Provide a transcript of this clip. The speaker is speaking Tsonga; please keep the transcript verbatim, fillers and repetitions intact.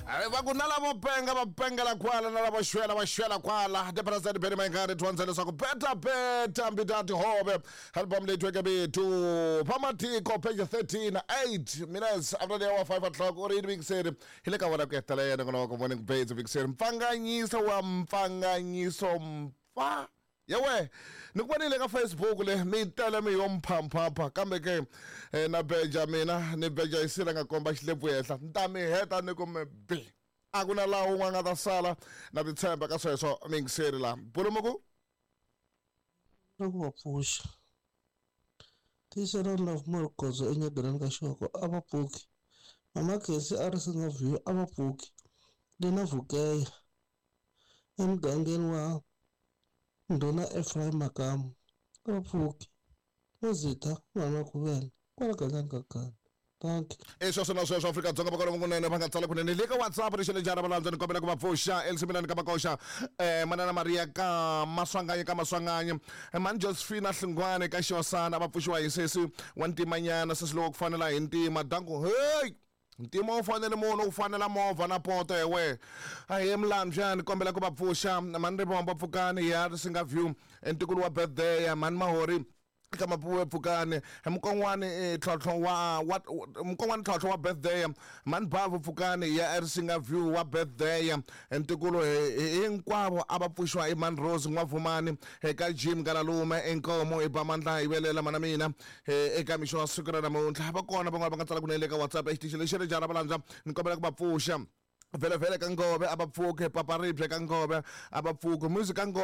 Va ku na lavo penga va pengela kwala, na lavo xwela va xwela kwala. The president Benny Mayengani dyondza leswaku beta beta mbita tihove, album leyi tweke bitu pamatiko, page thirteen, eight minutes after the hour five o'clock. U ri yini, vingiseri? Hi le ka vona ku hetelela yena kona wa ku Morning Babes. Vingiseri, mpfanganyiso wa mpfanganyiso mpfa yewe ni ku vonile ka Facebook le, mi tele mi yo mphamphampa, kambe ke eh, na beja mina ni beja yi sila nga komba xilepfu henhla, ni ta mi heta ni ku mi bi, a ku na laha wun'we a nga ta sala. Na ti tshemba ka sweswo, mingiseri la bulumu. Na ku va pfuxa tiyisela Love Morgodzo enyageleni ka xoko, a va pfuki. Mama Khesi a ri singa view, a va pfuki. Lena Vukeya emugangeni wa Ndhuna Ephraim Makamu, a va pfuki. Mazitha n'wana Khuvela kwala gandlani ka ganda. Dankie. I sweswo na sweswo, Afrika-Dzonga va kona kunene va nga tsala kunene le ka WhatsApp. Rixele njhani valandza? Ni kombela ku va pfuxa Elsimilani ka Makoxa, um manana Maria ka Maswanganye, ka Maswanganye, mani Josephina Hlungwane ka Xosana, va pfuxiwa hi sesi wa ntimanyana, sesi lowo ku fanela hi ntima. Danku hey, ntima wu fanele munhu, wu fanela movha na poto. Ewe, ahee Mlambyani, kombela ku va pfuxa mani Rivombo Pfukani ya Risinga View, ntikulu wa birthday, mani Mahori ka Mapuwe Pfukani, mukon'wani tlhontlho wa wa mukon'wani tlhontlho wa birthday, mani Bavu Pfukani ya Risinga View wa birthday, ntikulu hinkwavo a va pfuxiwa i mani Rose N'wavumani eka Jim Galalume inkomo i ba mandla hi velela mana mina eka mixo wa siku ra namuntlha. Va kona van'wana va nga tsala kunene ka WhatsApp exitichi lexi ri jara valandza. Ni kombela ku va pfuxa Vhelevhele ka Ngove, a va pfuke. Paparibye ka Ngove, a va pfuke. Music ka Ngove.